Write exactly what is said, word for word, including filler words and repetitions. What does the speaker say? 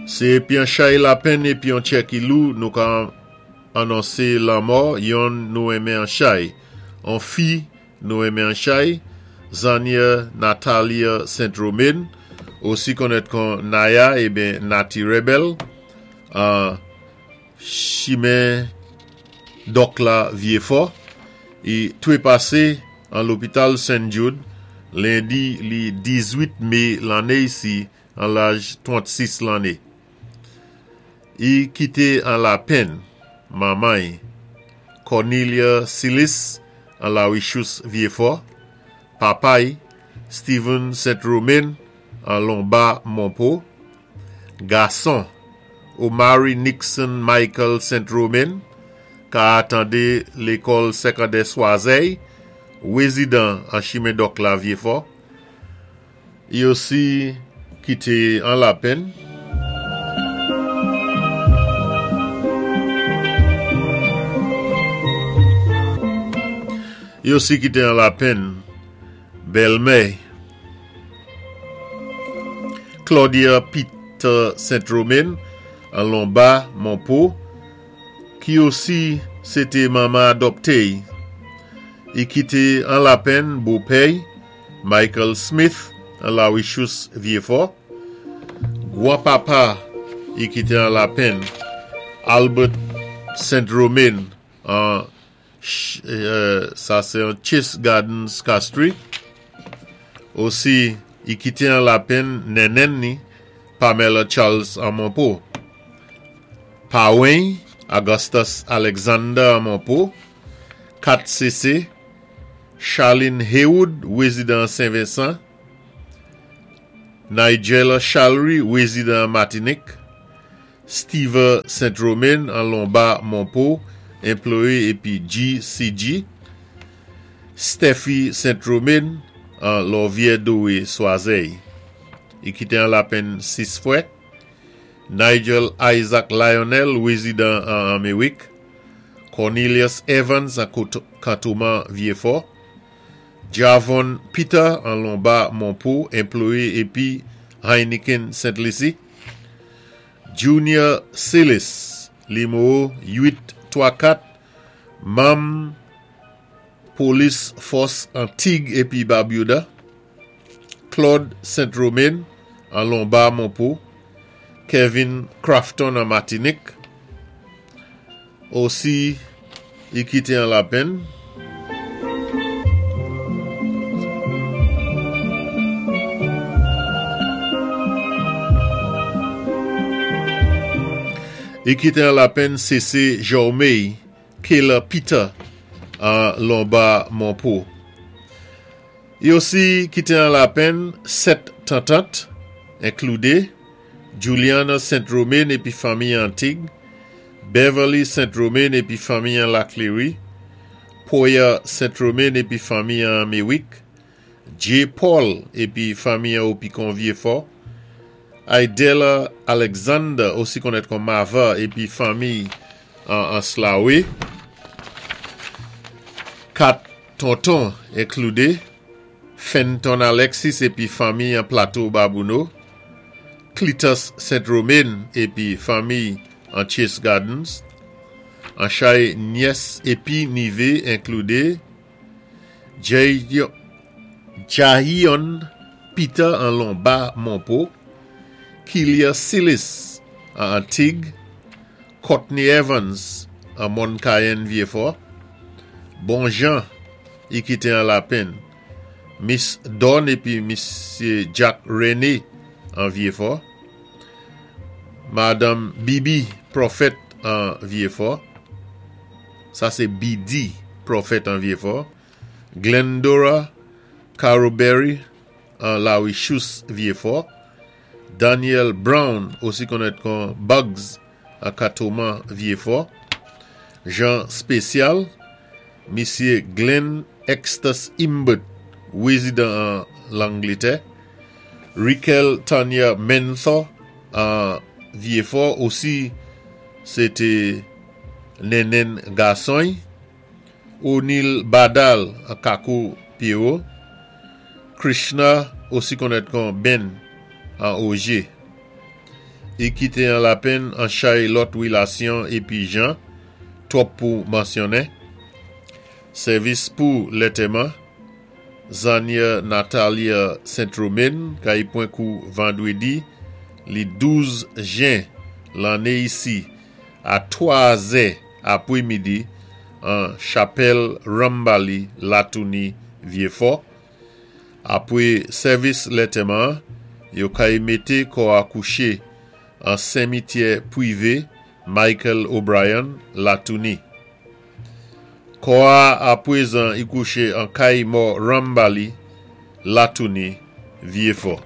Sé épi an chay lapenn épi an tjè ki lou nou ka anonsé lanmò yonn nou renmen an chay. An fi nou renmen an chay, Zania Natalia Saint-Romain, osi konnèt kon Naya ébyen Nati Rebel, an chimen Dòk la Vyéfò, i twépasé an lopital Saint Jude, lendi li dizwit mé lanné isi an laj twant-sis lanné. I kité an lapenn manman Cornelia Silis an La Richous Vyéfò, papay Steven Saint-Romain an Lomba Monpo, gason Omari Nixon Michael Saint-Romain ka atandé lékòl sékondè Swazey, wézidan an chimen Dòk la Vyéfò. I osi kité an lapenn. I osi kité an lapenn bèlmè Claudia Peter Saint-Romain an Lomba Monpo, ki osi sé té manman adopté. I kité an lapenn bopè Michael Smith an La Richous Vyéfò. Gwan-papa i kité an lapenn Albert Saint-Romain an sa sé an Chase Gardens Castries. Osi i kité an lapenn nènèn ni Pamela Charles an Monpo. Pawen Augustus Alexander an Monpo, kat C C, Charlene Haywood, wézidan Saint-Vincent, Nigella Chalry, wézidan Matinik, Steve Saint-Romain an Lomba Monpo, anplwayé épi G C G, Steffi Saint-Romain an Lòvyè Dowé Swazey. I kité an lapenn sis fwè, Nigel Isaac Lionel, wézidan an Améwik, Cornelius Evans an Kantoman Vyéfò, Javon Peter an Lomba Monpo, anplwayé épi Heineken Saint-Lucie, Junior Silis, niméwo uit twa kat, manm Polis Fòs Antig épi Barbuda, Claude Saint-Romain an Lomba Monpo, Kevin Crafton an Matinik, osi i kité an lapenn. I kité an lapenn C C Jomey Kayla Peter an Lomba Monpo. I osi kité an lapenn sèt tantant, inkloudé Juliana Saint-Romain épi fanmi Antig, Beverly Saint-Romain épi fanmi an Laclery, Poya Saint-Romain épi fanmi an Mewick, J. Paul épi fanmi an Opikon Vyéfò, Idella Alexander, osi konnèt kon Mava, épi fanmi an Anslawe, kat tonton inkloudé, Fenton Alexis épi fanmi an Plateau Babouno, Cletus Saint-Romain épi fanmi an Chase Gardens, an chay nyès épi nivé inkloudé, Jahion Peter an Lomba Monpo, Kilia Silis an Antig, Courtney Evans an Moncayen Vyéfò, Bon Jean i kité an lapenn, Miss Don épi Miss Jack René an Vyéfò, Madame Bibi Prophet an Vyéfò, sa sé B D Prophet an Vyéfò, Glendora Caroberry an La Richous Vyéfò, Daniel Brown, osi konnèt kon Bugs an Katoman Vyéfò, Jean Spécial, Misyé Glenn Extus Imbert, wézidan an Langlétè, Rikel Tanya Menthor an Vyéfò, osi sé té nènèn gason, O'Neill Badal an Kako Pierrot, Krishna, osi konnèt kon Ben an Oje. I kité an lapenn an chay lòt wilasyon épi jan, twòp pou mansyonnen. Sèvis pou lantèman, Zanyè Natalia Saint-Romain, kay pwan kou vandwédi, li douz jen lanné isi a twa zè apwémidi an chapèl Rambali Latouni Vyéfò. Apwé sèvis lantèman, yo kay mété kò a kouché an simityè pwivé Michael O'Brien Latouni. Kò a apwézan i kouché an kay mò Rambali Latouni Vyéfò.